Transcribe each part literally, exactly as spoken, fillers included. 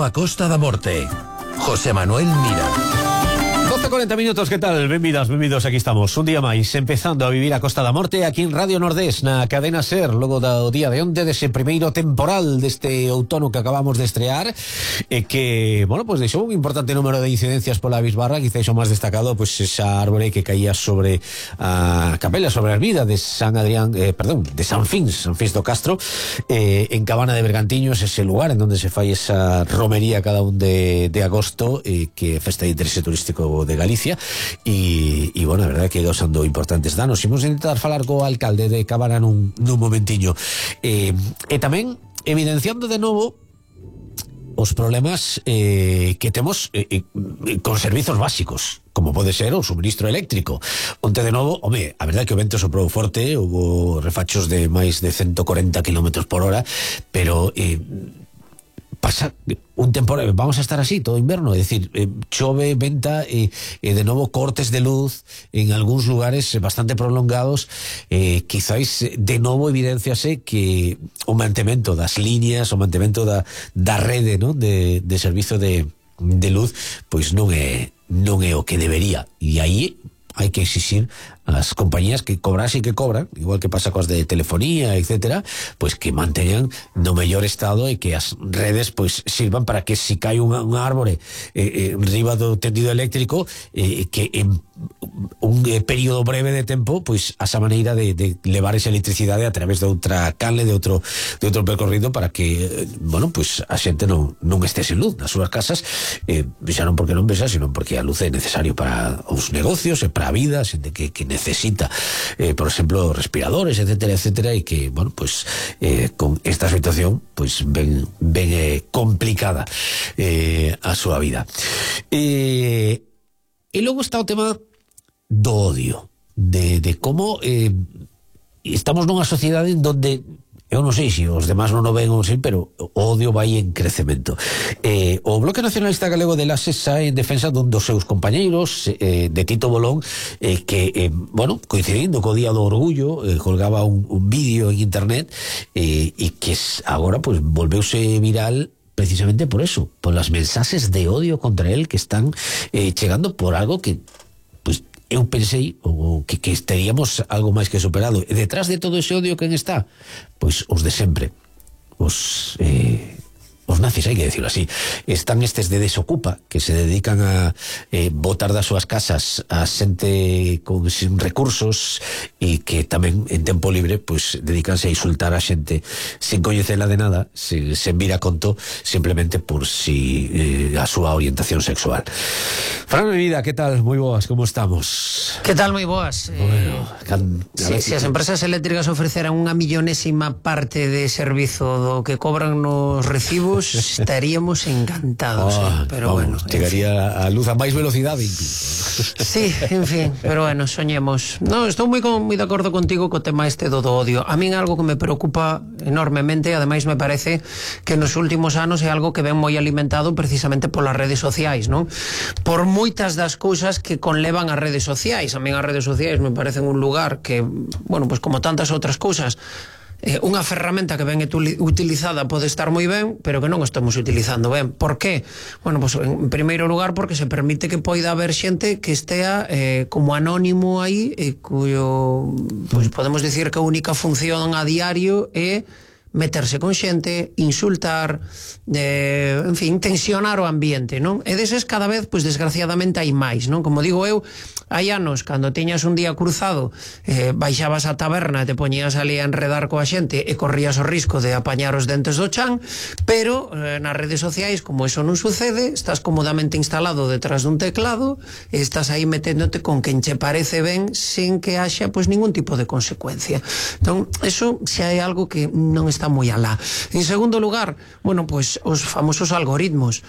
a Costa da Morte. José Manuel Mira. doce cuarenta minutos, que tal? Benvidas, benvidos, aquí estamos un día máis, empezando a vivir a Costa da Morte aquí en Radio Nordés, na cadena SER, logo do día de onte, dese primeiro temporal deste outono que acabamos de estrear, e que, bueno, pues deixou un importante número de incidencias pola bisbarra. Quizás o máis destacado, pues esa árbore que caía sobre a capela, sobre a ermida de San Adrián, eh, perdón, de San Fins, San Fins do Castro, eh, en Cabana de Bergantiños, ese lugar en donde se fai esa romería cada un de, de agosto, eh, que é festa de interese turístico de Galicia, e, e bueno, a verdade que causando importantes danos. Imos intentar falar co alcalde de Cabana nun, nun momentiño, e, e tamén evidenciando de novo os problemas eh, que temos eh, eh, con servizos básicos, como pode ser o suministro eléctrico, onte de novo, home, a verdade que o vento soprou forte, houve refachos de máis de ciento cuarenta kilómetros por hora, pero eh, pasa un temporal, vamos a estar así todo inverno, é dicir, eh, chove, venta e, e de novo cortes de luz en algúns lugares bastante prolongados. eh, quizáis de novo evidenciase que o mantemento das líneas, o mantemento da, da rede, ¿no?, de, de servizo de, de luz, pois non é non é o que debería, e aí hai que exixir as compañías que cobrasen que cobran, igual que pasa coas de telefonía, etcétera, pois que manteñan no mellor estado e que as redes pois sirvan para que si cae unha, unha árbore eh, eh, riba do tendido eléctrico, eh, que en un eh, período breve de tempo pois a esa maneira de, de levar esa electricidade a través de outra canle, de outro de outro percorrido, para que, eh, bueno, pois a xente non, non este sen luz nas súas casas, eh, xa non porque non vexa, sino porque a luz é necesario para os negocios e para a vida, xente que, que necesita, eh, por exemplo, respiradores, etcétera, etcétera, e que, bueno, pues eh, con esta situación, pues ven, ven eh, complicada eh, a súa vida. Eh, e logo está o tema do odio, de, de como eh, estamos nunha sociedade en donde eu non sei se os demás non o ven ou sei, pero o odio vai en crecemento. Eh, o Bloque Nacionalista Galego de Laxe sae en defensa dun dos seus compañeiros, eh, de Tito Bolón, eh, que, eh, bueno, coincidindo co Día do Orgullo, eh, colgaba un, un vídeo en internet, eh, e que agora, pues, volveuse viral precisamente por eso, por las mensaxes de odio contra él que están eh, chegando por algo que, pues, eu pensei o, que, que estaríamos algo máis que superado. E detrás de todo ese odio, quen está? Pois os de sempre, os eh, os nazis, hai que decirlo así. Están estes de Desocupa, que se dedican a eh, botar das súas casas a xente con sin recursos, e que tamén en tempo libre pois dedicanse a insultar a xente sin coñecela de nada, sin, sen vir a conto, simplemente por si eh, a súa orientación sexual. Fran, mi vida, que tal? Moi boas, como estamos? Que tal, moi boas? Bueno, eh, can, si, si as empresas eléctricas ofreceran unha millonésima parte de servizo do que cobran nos recibos, estaríamos encantados, oh, eh? Pero vamos, bueno, chegaría a luz a máis velocidade incluso. Sí, en fin, pero bueno, soñemos. No, estou moi, con, moi de acordo contigo co tema este do, do odio. A min algo que me preocupa enormemente, ademais me parece que nos últimos anos é algo que ven moi alimentado precisamente polas redes sociais, non? Por moitas das cousas que conlevan as redes sociais. A min as redes sociais me parecen un lugar que, bueno, pues como tantas outras cousas, Eh, unha ferramenta que ben utilizada pode estar moi ben, pero que non estamos utilizando ben. Por qué? Bueno, pues en primeiro lugar porque se permite que poida haber xente que estea eh, como anónimo aí, e cuyo, pues podemos dicir que a única función a diario é meterse con xente, insultar, eh, en fin, tensionar o ambiente, non? E deses cada vez, pois desgraciadamente hai máis, non? Como digo eu, hai anos, cando tiñas un día cruzado, eh, baixabas a taberna e te poñías ali a enredar coa xente e corrías o risco de apañar os dentes do chan, pero eh, nas redes sociais, como eso non sucede, estás cómodamente instalado detrás dun teclado e estás aí meténdote con quen che parece ben sin que haxa, pois, ningún tipo de consecuencia. Entón, eso xa é algo que non está moi alá. En segundo lugar, bueno, pois os famosos algoritmos.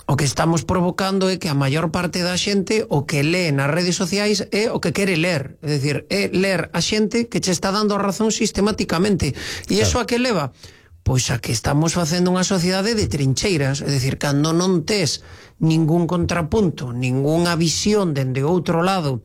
O que estamos provocando é que a maior parte da xente o que lee nas redes sociais é o que quere ler, é dicir, é ler a xente que che está dando a razón sistemáticamente. E iso a que leva? Pois a que estamos facendo unha sociedade de trincheiras, é dicir, cando non tes ningún contrapunto, ningunha visión dende outro lado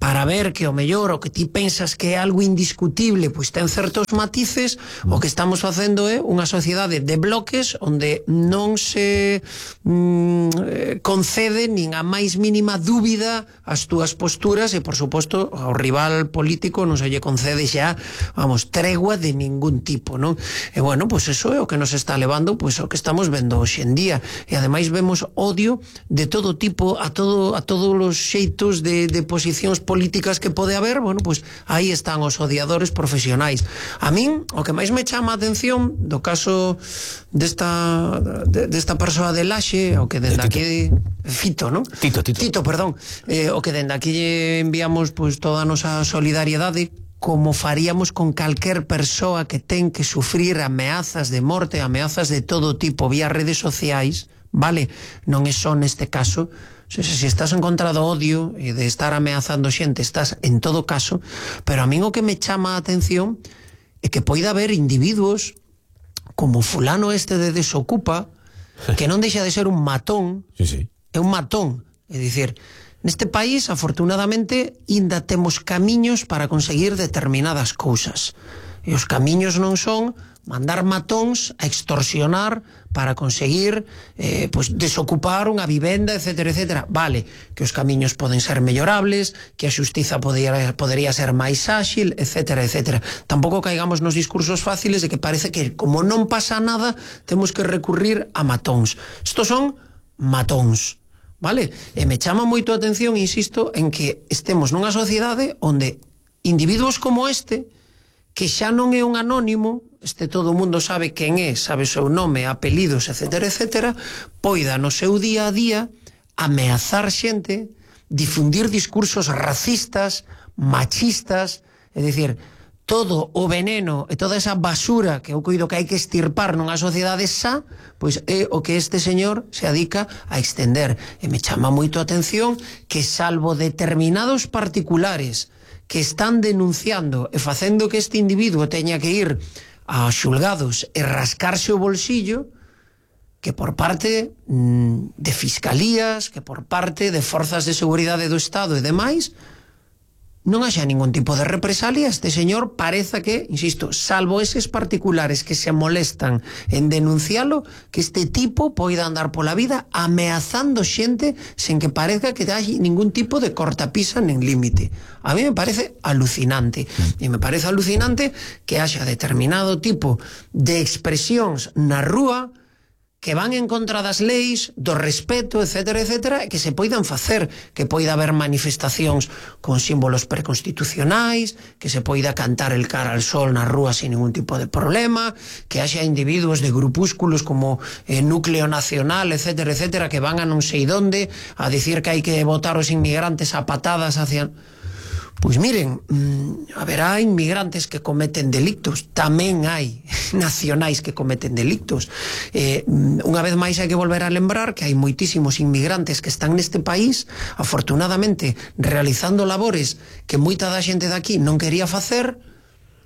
para ver que o mellor o que ti pensas que é algo indiscutible pois ten certos matices, o que estamos facendo é unha sociedade de bloques onde non se mm, concede nin a máis mínima dúbida as túas posturas, e por suposto ao rival político non se lle concede xa, vamos, tregua de ningún tipo, non? E bueno, pois eso é o que nos está levando pois o que estamos vendo hoxe en día, e ademais vemos odio de todo tipo a todo a todos os xeitos de, de posicións políticas que pode haber. Bueno, pois aí están os odiadores profesionais. A min, o que máis me chama a atención do caso desta de, desta persoa de Laxe, o que dende aquí Fito, non? Tito, Tito. Tito, perdón. Eh, o que dende aquí lle enviamos pois toda a nosa solidariedade, como faríamos con calquer persoa que ten que sufrir ameazas de morte, ameazas de todo tipo vía redes sociais, vale? Non é só neste caso. Se, se estás en contra do odio e de estar ameazando xente, estás en todo caso, pero a min o que me chama a atención é que poida haber individuos como fulano este de Desocupa, que non deixa de ser un matón, sí, sí. é un matón, é dicir, neste país, afortunadamente, ainda temos camiños para conseguir determinadas cousas, e os camiños non son mandar matóns a extorsionar para conseguir eh, pues, desocupar unha vivenda, etcétera, etcétera. Vale, que os camiños poden ser mellorables, que a xustiza podría, podería ser máis áxil, etcétera, etcétera. Tampouco caigamos nos discursos fáciles de que parece que, como non pasa nada, temos que recurrir a matóns. Estos son matóns, vale? E me chama moito a atención, insisto, en que estemos nunha sociedade onde individuos como este, que xa non é un anónimo, este todo o mundo sabe quen é, sabe o seu nome, apelidos, etcétera, etcétera, poida no seu día a día ameazar xente, difundir discursos racistas, machistas, é dicir, todo o veneno e toda esa basura que eu coido que hai que estirpar nunha sociedade xa, pois é o que este señor se adica a extender. E me chama moito a atención que, salvo determinados particulares que están denunciando e facendo que este individuo teña que ir a xulgados e rascarse o bolsillo, que por parte mm, de fiscalías, que por parte de forzas de seguridade do Estado e demais, non haxa ningún tipo de represalia. Este señor pareza que, insisto, salvo eses particulares que se molestan en denuncialo, que este tipo poida andar pola vida ameazando xente sen que parezca que hai ningún tipo de cortapisa nen límite. A mí me parece alucinante. E me parece alucinante que haxa determinado tipo de expresións na rúa que van en contra das leis, do respeto, etcétera, etcétera, e que se poidan facer, que poida haber manifestacións con símbolos preconstitucionais, que se poida cantar el cara al sol na rúa sin ningún tipo de problema, que haxa individuos de grupúsculos como eh, Núcleo Nacional, etcétera, etcétera, que van a non sei donde a dicir que hai que botar os inmigrantes a patadas hacia... Pois miren, mmm, haberá inmigrantes que cometen delictos, tamén hai nacionais que cometen delictos. Eh, unha vez máis hai que volver a lembrar que hai moitísimos inmigrantes que están neste país, afortunadamente, realizando labores que moita da xente daqui non quería facer,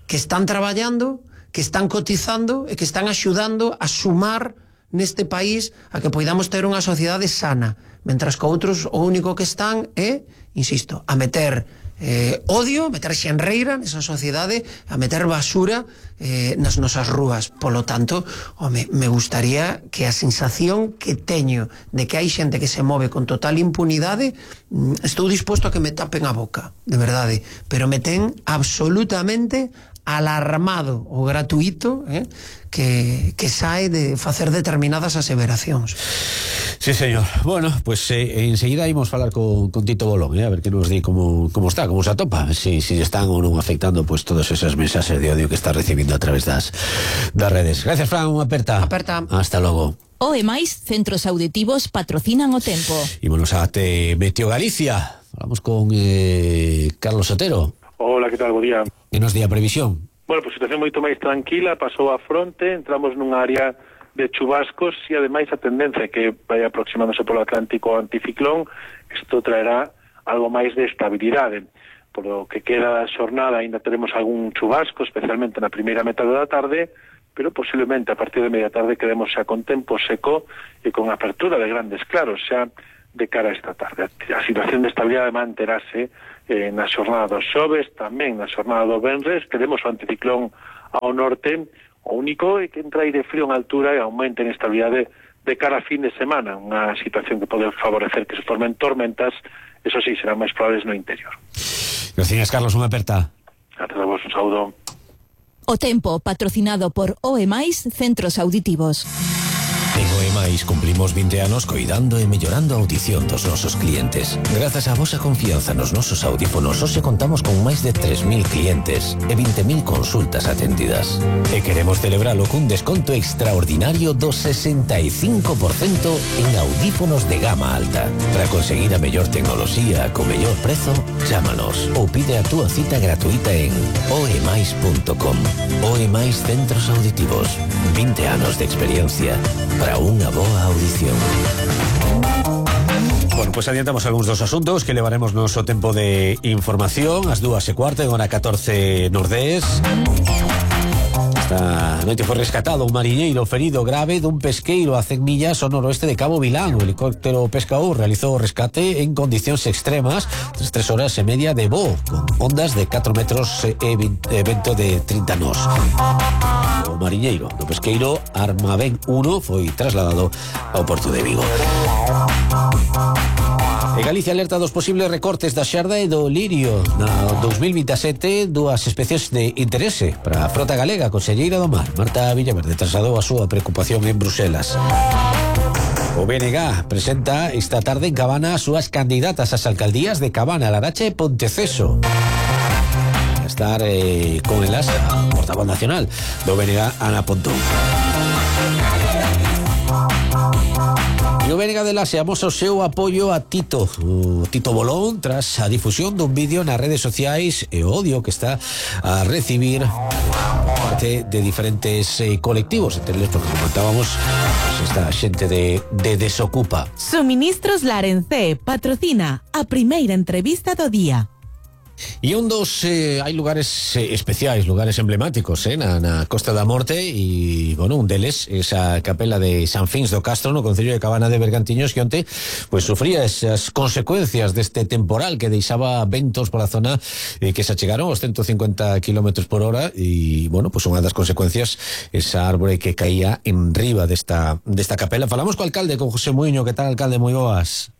que están traballando, que están cotizando e que están axudando a sumar neste país a que poidamos ter unha sociedade sana, mentras que outros o único que están é, insisto, a meter Eh, odio, meter xenreira nesa sociedade, a meter basura eh, nas nosas rúas. Polo tanto, home, me gustaría que a sensación que teño de que hai xente que se move con total impunidade, mm, estou disposto a que me tapen a boca, de verdade, pero me ten absolutamente alarmado o gratuito eh, que, que sae de facer determinadas aseveracións. Sí, señor. Bueno, pues eh, enseguida íbamos falar con, con Tito Bolón, eh, a ver que nos di como, como está, como se atopa, si, si están ou non afectando pues todos esos mensajes de odio que está recibindo a través das, das redes. Gracias, Fran, unha aperta. Aperta. Hasta logo. O e máis centros auditivos patrocinan o tempo. Ímonos a te Meteo Galicia. Falamos con eh, Carlos Otero. Hola, que tal? Bo día. Que nos di a previsión? Bueno, pues situación moito máis tranquila, pasou a fronte, entramos nunha área de chubascos e ademais a tendencia que vai aproximándose polo Atlántico anticiclón, isto traerá algo máis de estabilidade. Por lo que queda da xornada ainda teremos algún chubasco, especialmente na primeira metade da tarde, pero posiblemente a partir de media tarde quedemos xa con tempo seco e con apertura de grandes claros xa de cara a esta tarde. A situación de estabilidade manterase eh, na xornada dos xoves, tamén na xornada do venres, teremos o anticiclón ao norte, o único é que entra aire frío en altura e aumenta en estabilidade de cara a fin de semana, unha situación que pode favorecer que se formen tormentas, eso sí, serán máis probables no interior. Gracias, Carlos, unha aperta. A todos vos un saúdo. O tempo, patrocinado por O E Mais Centros Auditivos. En O E Mais cumplimos vinte anos coidando e mellorando a audición dos nosos clientes. Grazas á vosa confianza nos nosos audífonos, hoxe contamos con máis de tres mil clientes e vinte mil consultas atendidas. E queremos celebralo cun desconto extraordinario do sesenta e cinco por cento en audífonos de gama alta. Para conseguir a mellor tecnoloxía co mellor prezo, chámanos ou pide a túa cita gratuita en oemais punto com. O E Mais Centros Auditivos. vinte anos de experiencia para unha boa audición. Bueno, pues adiantamos algúns dos asuntos que levaremos noso tempo de información. As dúas e cuarta en hora catorce Nordés. Esta noite foi rescatado un mariñeiro ferido grave dun pesqueiro a cen millas ao noroeste de Cabo Vilán. O helicóptero pescador realizou o rescate en condicións extremas tras tres horas e media de voo, con ondas de catro metros e vento de trinta nós. O mariñeiro do pesqueiro Armavén uno foi trasladado ao porto de Vigo. E Galicia alerta dos posibles recortes da xarda e do lirio. Na dos mil veintesete, dúas especies de interese para a frota galega. A conselleira do mar, Marta Villaverde, trasladou a súa preocupación en Bruselas. O B N G presenta esta tarde en Cabana as súas candidatas ás alcaldías de Cabana, Laracha e Ponteceso. A estar eh, con elas a portavoz nacional do B N G, Ana Pontón. E o B N G de Laxe amosa o seu apoio a Tito, o Tito Bolón, tras a difusión dun vídeo nas redes sociais e o odio que está a recibir parte de diferentes eh, colectivos, entre eles, porque comentábamos, pues, esta xente de, de Desocupa. Suministros Larencé patrocina a primeira entrevista do día. E un dos, eh, hai lugares eh, especiais, lugares emblemáticos eh, na, na Costa da Morte, e, bueno, un deles, esa capela de San Fins do Castro, no concello de Cabana de Bergantiños, que onte, pues, sufría esas consecuencias deste temporal que deixaba ventos pola zona eh, que se achegaron aos ciento cincuenta kilómetros por hora, e, bueno, pues, unha das consecuencias, esa árbore que caía en riba desta, desta capela. Falamos co alcalde, con José Muiño. Que tal, alcalde? Moi boas.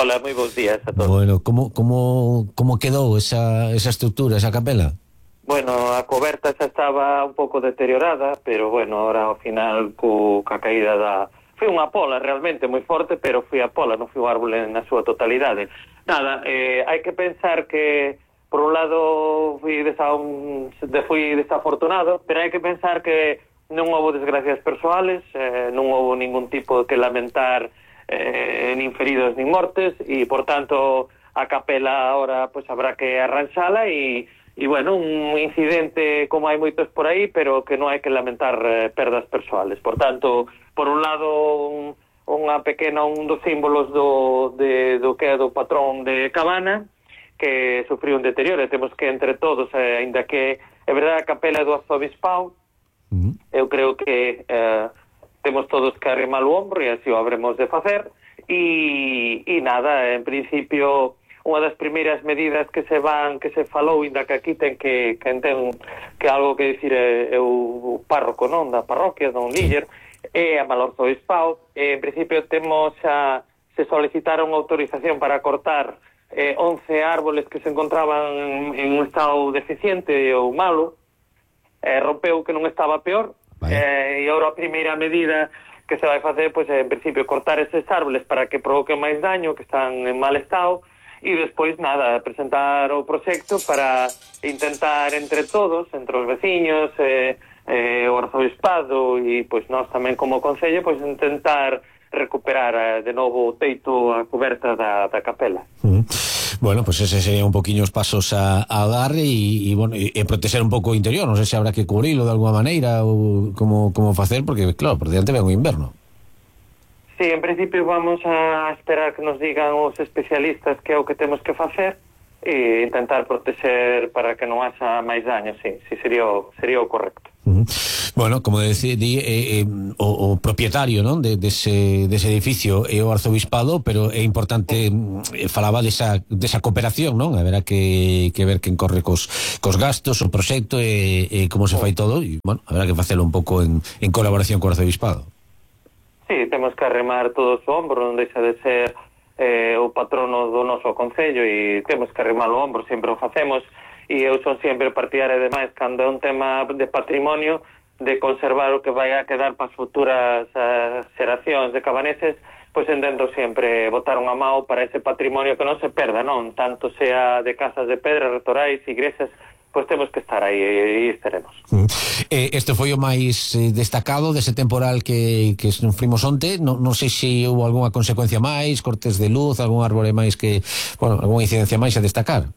Hola, moi bons días a todos. Bueno, como, como, como quedou esa, esa estructura, esa capela? Bueno, a coberta xa estaba un pouco deteriorada, pero bueno, ahora ao final co, ca caída da... Foi unha pola realmente moi forte, pero foi a pola, non foi un árbol na súa totalidade. Nada, eh, hai que pensar que por un lado fui, desa, un, fui desafortunado, pero hai que pensar que non houve desgracias persoales, eh, non houve ningún tipo que lamentar, Eh, nin feridos nin mortes, e por tanto a capela ahora pues habrá que arranxala, e, e bueno, un incidente como hai moitos por aí, pero que non hai que lamentar eh, perdas persoales. Por tanto, por un lado un, unha pequena, un dos símbolos do, de, do que é do patrón de Cabana, que sufriu un deterioro, e temos que entre todos, eh, ainda que é verdade a capela do arzobispado, uh-huh. eu creo que eh, temos todos que arrimar o ombro, e así o habremos de facer, e, e nada, en principio unha das primeiras medidas que se van, que se falou, inda que aquí ten que, que ten que algo que dicir é, é o párroco, non, da parroquia, don Líder, e a Malorzo Obispado, e en principio temos a, se solicitaron autorización para cortar eh, once árboles que se encontraban en un estado deficiente ou malo, eh, rompeu que non estaba peor. Eh, e agora a primeira medida que se vai facer, pois, pues, en principio, cortar eses árboles para que provoquen máis daño, que están en mal estado, e despois, nada, presentar o proxecto para intentar entre todos, entre os veciños, eh, eh, o arzobispado e, pois, nós tamén como concello, pois, intentar recuperar eh, de novo o teito, a coberta da, da capela. Uh-huh. Bueno, pues ese sería un poquinho os pasos a, a dar, e, e, bueno, e, e proteger un pouco o interior. Non sei se habrá que cubrilo de alguma maneira ou como, como facer, porque, claro, por diante ven o inverno. Sí, en principio vamos a esperar que nos digan os especialistas que é o que temos que facer, e intentar proteger para que non haxa máis daño, sí, sí sería o, sería o correcto. Uh -huh. Bueno, como decía, eh, eh, o, o propietario, non, de, dese, dese edificio é o arzobispado, pero é importante, eh, falaba desa, desa cooperación, non? Haberá que, que ver quen corre cos, cos gastos, o proxecto e, e como se fai todo, e, bueno, haberá que facelo un pouco en, en colaboración co arzobispado. Sí, temos que arremar todos o ombro, non deixa de ser eh, o patrono do noso concello e temos que arremar o ombro, sempre o facemos. E eu son sempre partidaria, ademais, cando é un tema de patrimonio, de conservar o que vai a quedar para as futuras uh, xeracións de cabaneses, pois entendo sempre botar unha mão para ese patrimonio que non se perda, non? Tanto sea de casas de pedra, retorais, igrexas, pois temos que estar aí e estaremos. Mm. Eh, este foi o máis eh, destacado dese temporal que, que sufrimos onte. Non, non sei se houve algunha consecuencia máis, cortes de luz, algún árbore máis que, bueno, algunha incidencia máis a destacar.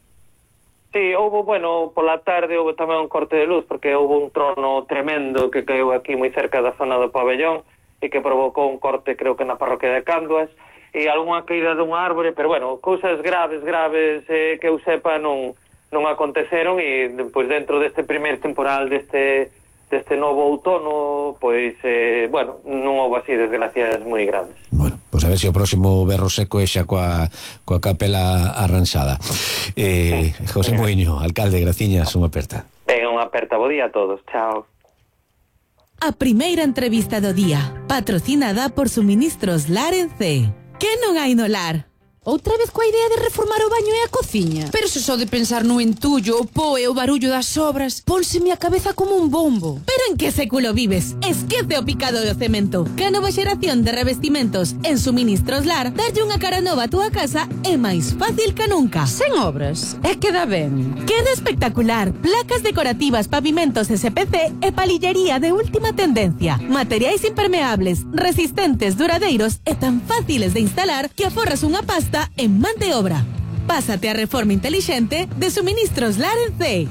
Sí, houve, bueno, pola tarde houve tamén un corte de luz porque houve un trono tremendo que caeu aquí moi cerca da zona do pabellón e que provocou un corte, creo que na parroquia de Canduas, e algunha caída dun árbore, pero bueno, cousas graves, graves eh, que eu sepa non, non aconteceron e pois dentro deste primer temporal deste, deste novo outono, pois, eh, bueno, non houve así desgracias moi grandes. Bueno, pois a ver se o próximo berro seco é xa coa, coa capela arranxada. Eh, José Moiño, alcalde, graciñas, unha aperta. Ben, unha aperta, bo día a todos, chao. A primeira entrevista do día, patrocinada por Suministros Lar en C. Que non hai no lar? Outra vez coa idea de reformar o baño e a cociña? Pero se só de pensar no entullo, o po e o barullo das obras, pónseme a cabeza como un bombo. Pero en que século vives? Esquece o picado do cemento. Que a nova xeración de revestimentos en Suministros Lar darlle unha cara nova a túa casa é máis fácil que nunca. Sen obras, é que dá ben. Queda espectacular. Placas decorativas, pavimentos S P C e palillería de última tendencia. Materiais impermeables, resistentes, duradeiros e tan fáciles de instalar que aforras unha pasta en man de obra. Pásate a reforma intelixente de Suministros Lar en C.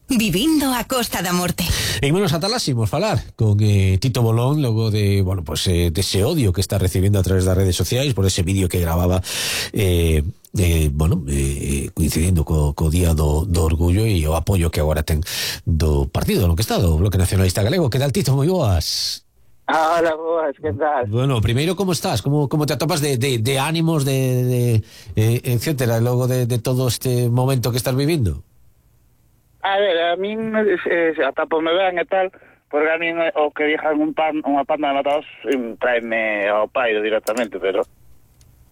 Vivindo a Costa da Morte. E menos ataláximos falar con eh, Tito Bolón logo de, bueno, pues, eh, de ese odio que está recibiendo a través das redes sociais por ese vídeo que grababa eh, eh, bueno, eh, coincidindo co, co día do, do orgullo e o apoio que agora ten do partido no que está, do Bloque Nacionalista Galego. Que tal, Tito? Moi boas. Hola, boas, que tal? Bueno, primeiro, como estás? Como, como te atopas de, de, de ánimos, de, de eh, etcétera, logo de, de todo este momento que estás vivindo? A ver, a min eh, atapome ben e tal, porque a min o que dixan un pan, unha panda de matados traeme ao pairo directamente, pero...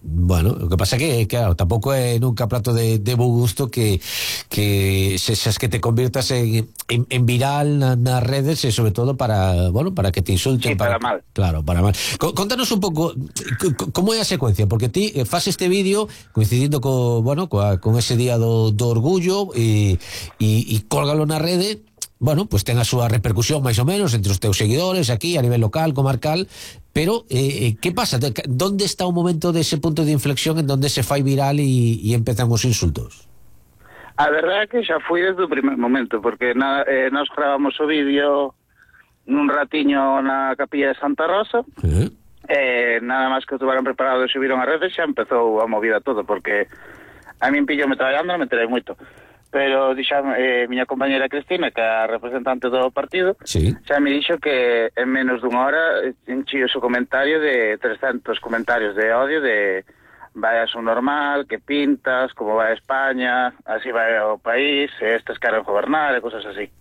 Bueno, o que pasa que, claro, tampouco é nunca plato de, de bo gusto que que sexas que te convirtas en, en, en viral na, nas redes e sobre todo para, bueno, para que te insulten. Sí, para, para mal. Claro, para mal. C Contanos un pouco como é a secuencia, porque ti faz este vídeo coincidindo co, bueno, coa, con ese día do, do orgullo e, e, e cólgalo na rede. Bueno, pues ten a súa repercusión máis ou menos entre os teus seguidores aquí a nivel local, comarcal, pero eh, que pasa? Donde está o momento dese punto de inflexión en donde se fai viral e, e empezan os insultos? A verdade é que xa foi desde o primer momento, porque na, eh, nos gravamos o vídeo nun ratiño na capilla de Santa Rosa, uh-huh. eh, nada máis que o tuvaron preparado e subiron a redes, xa empezou a movida todo, porque a min pillome traballando, me enterei moito. Pero dixan, eh, miña compañera Cristina, que é a representante do partido, sí, xa me dixo que en menos dunha hora enchío o seu comentario de trescentos comentarios de odio, de vai a su normal, que pintas, como vai a España, así vai o país, estes queren gobernar e cosas así.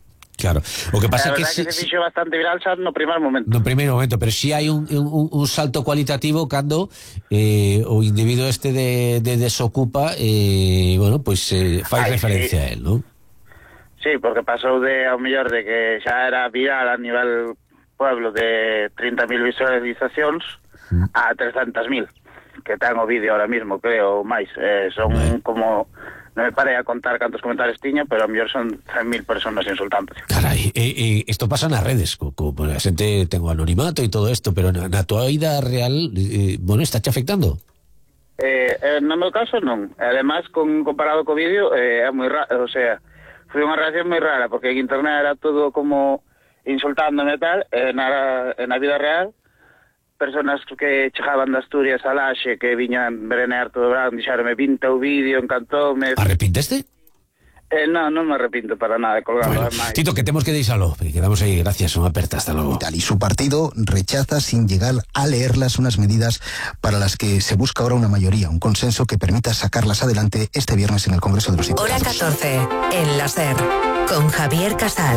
Claro, o que pasa é que, que si, se fixo bastante viral xa no primer momento. No primeiro momento, pero si hai un, un, un salto cualitativo cando eh, o individuo este de, de desocupa eh, bueno, pois pues, eh, fai Ay, referencia sí. a él, non? Sí, porque pasou de ao mellor de que xa era viral a nivel pueblo de trinta mil visualizacións mm. a trescentas mil, que ten o vídeo ahora mismo, creo, máis. Eh, son bueno. como... Non me parei a contar cantos comentarios tiña, pero a mellor son cen mil personas insultantes. Carai, e, e isto pasa nas redes, co, co, a xente ten o anonimato e todo isto, pero na, na tua vida real, eh, bueno, está te afectando? Eh, eh, no meu caso non. Ademais, con, comparado co vídeo, eh, é moi raro, o sea, foi unha reacción moi rara, porque en internet era todo como insultándome e tal, e na, na vida real personas que chegaban de Asturias a Laxe, que viñan brenear todo o verán, dixeronme, vinta o vídeo, encantoume. Arrepinteste? Eh, no, non me arrepinto para nada de colgarlo. Bueno, Tito, que temos que deixalo. Quedamos aí, gracias, unha aperta, hasta luego. Y su partido rechaza sin llegar a leerlas unas medidas para las que se busca ahora una mayoría, un consenso que permita sacarlas adelante este viernes en el Congreso de los Diputados. Hora catorce, en la SER, con Javier Casal.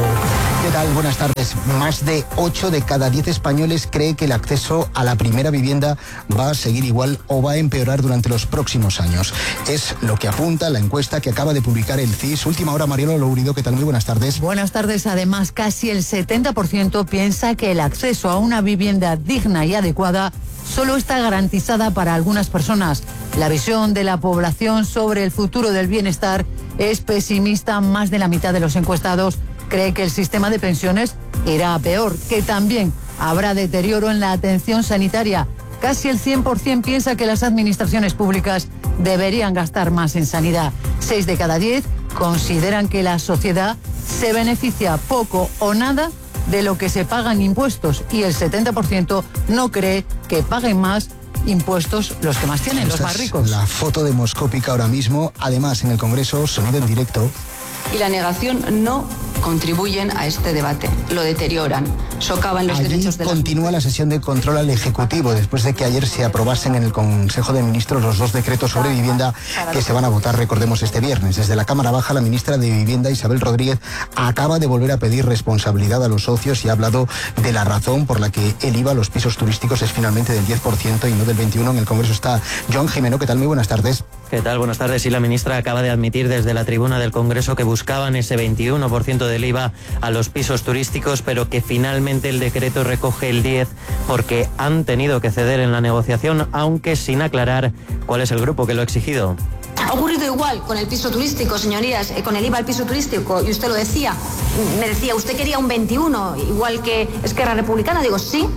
¿Qué tal? Buenas tardes. Más de ocho de cada diez españoles cree que el acceso a la primera vivienda va a seguir igual o va a empeorar durante los próximos años. Es lo que apunta la encuesta que acaba de publicar el C I S. Última hora, Mariano Lourido, ¿qué tal? Muy buenas tardes. Buenas tardes. Además, casi el setenta por ciento piensa que el acceso a una vivienda digna y adecuada solo está garantizada para algunas personas. La visión de la población sobre el futuro del bienestar es pesimista. Más de la mitad de los encuestados cree que el sistema de pensiones irá a peor, que también habrá deterioro en la atención sanitaria. Casi el cien por ciento piensa que las administraciones públicas deberían gastar más en sanidad. Seis de cada diez consideran que la sociedad se beneficia poco o nada de lo que se pagan impuestos, y el setenta por ciento no cree que paguen más impuestos los que más tienen, los más ricos. La foto demoscópica ahora mismo, además en el Congreso, sonido en directo. Y la negación no contribuyen a este debate, lo deterioran, socavan los Allí derechos de las continúa la sesión de control al Ejecutivo después de que ayer se aprobasen en el Consejo de Ministros los dos decretos sobre vivienda que se van a votar, recordemos, este viernes. Desde la Cámara Baja, la ministra de Vivienda, Isabel Rodríguez, acaba de volver a pedir responsabilidad a los socios y ha hablado de la razón por la que el I V A a los pisos turísticos es finalmente del diez por ciento y no del veintiuno por ciento. En el Congreso está Joan Jimeno. ¿Qué tal? Muy buenas tardes. ¿Qué tal? Buenas tardes. Y la ministra acaba de admitir desde la tribuna del Congreso que buscaban ese veintiuno por ciento del I V A a los pisos turísticos, pero que finalmente el decreto recoge el diez por ciento porque han tenido que ceder en la negociación, aunque sin aclarar cuál es el grupo que lo ha exigido. Ha ocurrido igual con el piso turístico, señorías, eh, con el I V A al piso turístico, y usted lo decía, me decía, usted quería un veintiuno, igual que Esquerra Republicana. Digo, sí,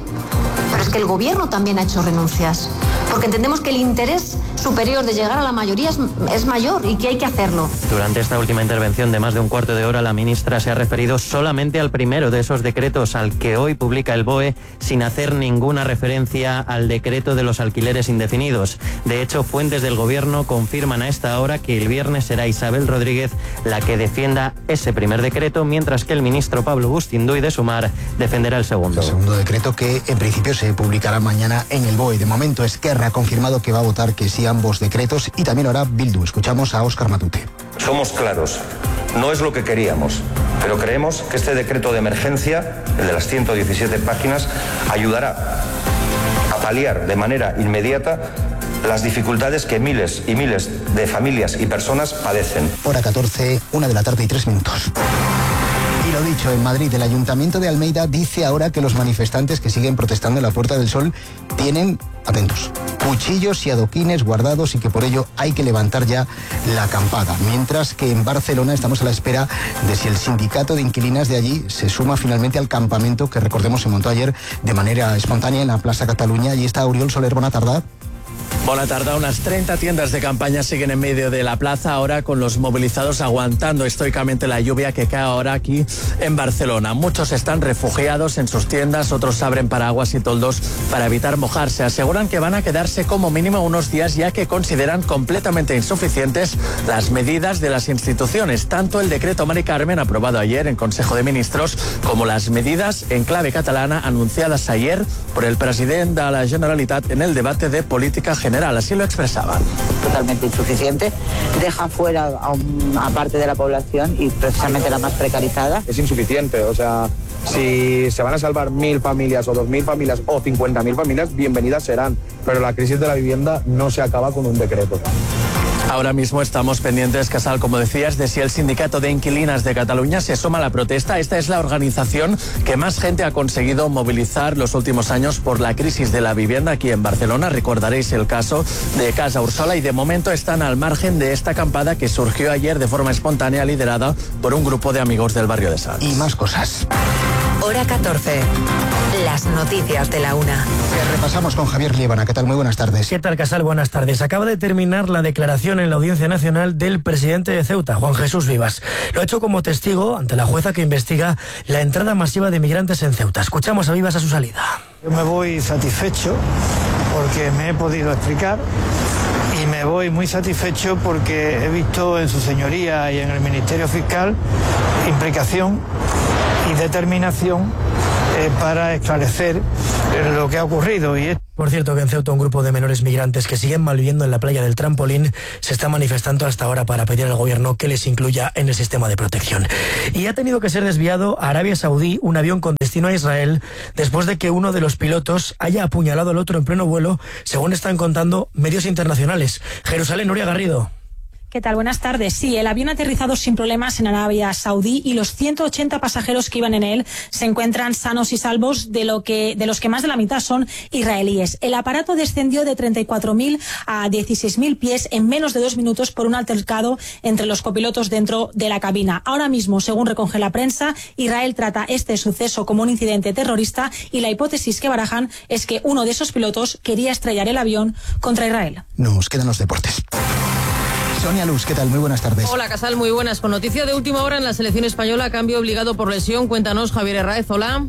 pero es que el gobierno también ha hecho renuncias, porque entendemos que el interés superior de llegar a la mayoría es, es mayor y que hay que hacerlo. Durante esta última intervención de más de un cuarto de hora, la ministra se ha referido solamente al primero de esos decretos, al que hoy publica el B O E, sin hacer ninguna referencia al decreto de los alquileres indefinidos. De hecho, fuentes del gobierno confirman a esta hora que el viernes será Isabel Rodríguez la que defienda ese primer decreto, mientras que el ministro Pablo Bustinduy de Sumar defenderá el segundo. El segundo decreto, que en principio se publicará mañana en el B O E. De momento, Esquerra ha confirmado que va a votar que sí a ambos decretos, y también ahora Bildu. Escuchamos a Óscar Matute. Somos claros, no es lo que queríamos, pero creemos que este decreto de emergencia, el de las ciento diecisiete páginas, ayudará a paliar de manera inmediata las dificultades que miles y miles de familias y personas padecen. Hora catorce, una de la tarde y tres minutos. Y lo dicho, en Madrid, el Ayuntamiento de Almeida dice ahora que los manifestantes que siguen protestando en la Puerta del Sol tienen, atentos, cuchillos y adoquines guardados y que por ello hay que levantar ya la acampada. Mientras que en Barcelona estamos a la espera de si el sindicato de inquilinas de allí se suma finalmente al campamento que, recordemos, se montó ayer de manera espontánea en la Plaza Cataluña. Y está Oriol Soler. Buena tarde. Buena tarde. Unas treinta tiendas de campaña siguen en medio de la plaza ahora, con los movilizados aguantando estoicamente la lluvia que cae ahora aquí en Barcelona. Muchos están refugiados en sus tiendas, otros abren paraguas y toldos para evitar mojarse. Aseguran que van a quedarse como mínimo unos días, ya que consideran completamente insuficientes las medidas de las instituciones, tanto el decreto Mari Carmen aprobado ayer en Consejo de Ministros como las medidas en clave catalana anunciadas ayer por el presidente de la Generalitat en el debate de política general. Así lo expresaban. Totalmente insuficiente, deja fuera a una parte de la población y precisamente la más precarizada. Es insuficiente, o sea, si se van a salvar mil familias o dos mil familias o cincuenta mil familias, bienvenidas serán, pero la crisis de la vivienda no se acaba con un decreto. Ahora mismo estamos pendientes, Casal, como decías, de si el sindicato de inquilinas de Cataluña se suma a la protesta. Esta es la organización que más gente ha conseguido movilizar los últimos años por la crisis de la vivienda aquí en Barcelona. Recordaréis el caso de Casa Ursola, y de momento están al margen de esta acampada que surgió ayer de forma espontánea, liderada por un grupo de amigos del barrio de Sants. Y más cosas. Hora catorce, las noticias de la una. Que repasamos con Javier Líbana. ¿Qué tal? Muy buenas tardes. ¿Qué tal, Casal? Buenas tardes. Acaba de terminar la declaración en la Audiencia Nacional del presidente de Ceuta, Juan Jesús Vivas. Lo ha hecho como testigo ante la jueza que investiga la entrada masiva de migrantes en Ceuta. Escuchamos a Vivas a su salida. Yo me voy satisfecho porque me he podido explicar y me voy muy satisfecho porque he visto en su señoría y en el Ministerio Fiscal implicación y determinación eh, para esclarecer eh, lo que ha ocurrido. Y Por cierto, que en Ceuta un grupo de menores migrantes que siguen malviviendo en la playa del Trampolín se está manifestando hasta ahora para pedir al gobierno que les incluya en el sistema de protección. Y ha tenido que ser desviado a Arabia Saudí un avión con destino a Israel después de que uno de los pilotos haya apuñalado al otro en pleno vuelo, según están contando medios internacionales. Jerusalén, Nuria Garrido. ¿Qué tal? Buenas tardes. Sí, el avión ha aterrizado sin problemas en Arabia Saudí y los ciento ochenta pasajeros que iban en él se encuentran sanos y salvos, de lo que de los que más de la mitad son israelíes. El aparato descendió de treinta y cuatro mil a dieciséis mil pies en menos de dos minutos por un altercado entre los copilotos dentro de la cabina. Ahora mismo, según recoge la prensa, Israel trata este suceso como un incidente terrorista y la hipótesis que barajan es que uno de esos pilotos quería estrellar el avión contra Israel. Nos quedan los deportes. Sonia Luz, ¿qué tal? Muy buenas tardes. Hola, Casal, muy buenas. Con noticia de última hora en la selección española, cambio obligado por lesión. Cuéntanos, Javier Herráez, hola.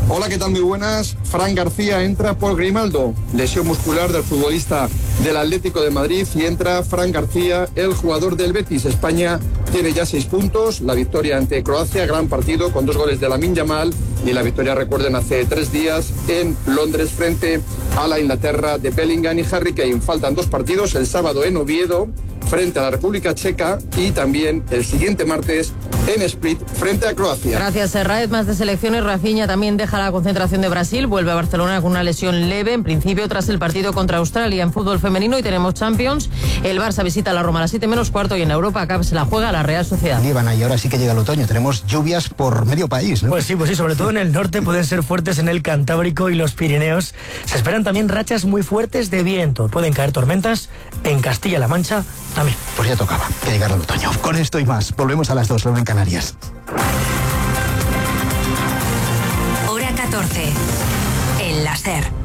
Hola, ¿qué tal? Muy buenas. Fran García entra por Grimaldo, lesión muscular del futbolista del Atlético de Madrid, y entra Fran García, el jugador del Betis. España tiene ya seis puntos, la victoria ante Croacia, gran partido con dos goles de Lamine Yamal, y la victoria, recuerden, hace tres días en Londres frente a la Inglaterra de Bellingham y Harry Kane. Faltan dos partidos, el sábado en Oviedo frente a la República Checa y también el siguiente martes en Split frente a Croacia. Gracias, Herráez. Más de selecciones. Rafinha también deja la concentración de Brasil, vuelve a Barcelona con una lesión leve, en principio tras el partido contra Australia. En fútbol femenino y tenemos Champions, el Barça visita a la Roma a las siete menos cuarto y en Europa acá se la juega la Real Sociedad. Líbana, y ahora sí que llega el otoño, tenemos lluvias por medio país, ¿no? Pues sí, pues sí, sobre todo en el norte pueden ser fuertes en el Cantábrico y los Pirineos. Se esperan también rachas muy fuertes de viento, pueden caer tormentas en Castilla-La Mancha también. Pues ya tocaba que llegara el otoño. Con esto y más, volvemos a las dos, luego en Canarias. Hora catorce, en la SER.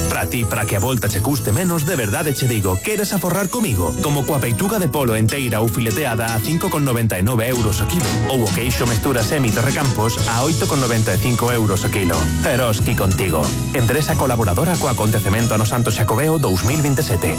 Para ti, para que a volta che custe menos, de verdade che digo, queres aforrar comigo? Como coa peituga de polo enteira ou fileteada a cinco con noventa e nove euros o kilo, ou o queixo mestura semi Torrecampos a oito con noventa e cinco euros o kilo. Eroski contigo. Empresa colaboradora co acontecemento ano Santo Xacobeo dos mil veintisiete.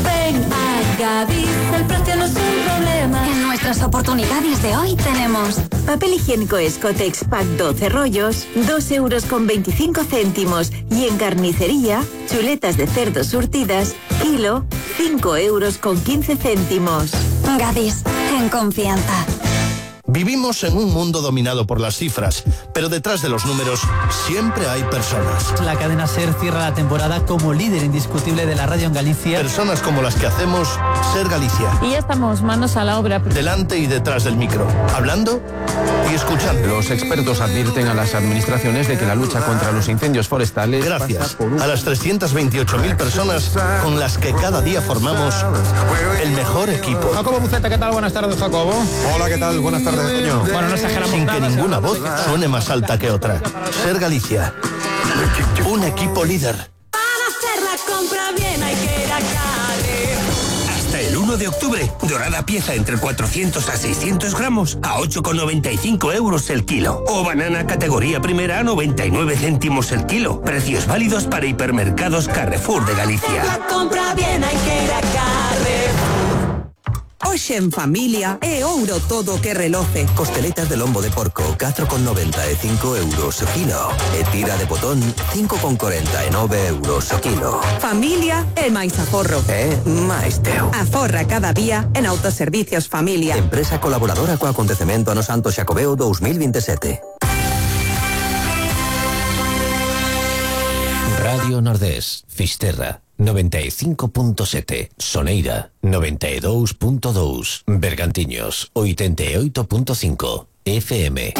Ven a Gadis, el precio no es un problema. En nuestras oportunidades de hoy tenemos papel higiénico Escotex Pack doce rollos, dos euros con veinticinco céntimos. Y en carnicería, chuletas de cerdo surtidas, kilo, cinco euros con quince céntimos. Gadis, en confianza. Vivimos en un mundo dominado por las cifras, pero detrás de los números siempre hay personas. La cadena SER cierra la temporada como líder indiscutible de la radio en Galicia. Personas como las que hacemos SER Galicia. Y ya estamos manos a la obra. Delante y detrás del micro, hablando y escuchando. Los expertos advierten a las administraciones de que la lucha contra los incendios forestales... Gracias por un... a las trescientas veintiocho mil personas con las que cada día formamos el mejor equipo. Jacobo Buceta, ¿qué tal? Buenas tardes, Jacobo. Hola, ¿qué tal? Buenas tardes. Bueno, no exageramos sin nada, que ninguna voz suene más alta que otra. SER Galicia, un equipo líder. Para hacer la compra bien hay que ir a Carrer. Hasta el uno de octubre, dorada pieza entre cuatrocientos a seiscientos gramos a ocho con noventa y cinco euros el kilo. O banana categoría primera a noventa y nueve céntimos el kilo. Precios válidos para hipermercados Carrefour de Galicia. Para hacer la compra bien hay que ir a Carrer. Hoxe en familia é ouro todo que reloce. Costeletas de lombo de porco, catro con noventa e cinco euros o kilo. E tira de botón, cinco con cuarenta e nove euros o kilo. Familia é máis aforro. É máis teu. Aforra cada día en Autoservicios Familia. Empresa colaboradora co acontecemento ano Santo Xacobeo dos mil veintisiete. Radio Nordés, Fisterra, noventa e cinco punto sete, Soneira, noventa e dous punto dous, Bergantiños, oitenta e oito punto cinco, F M.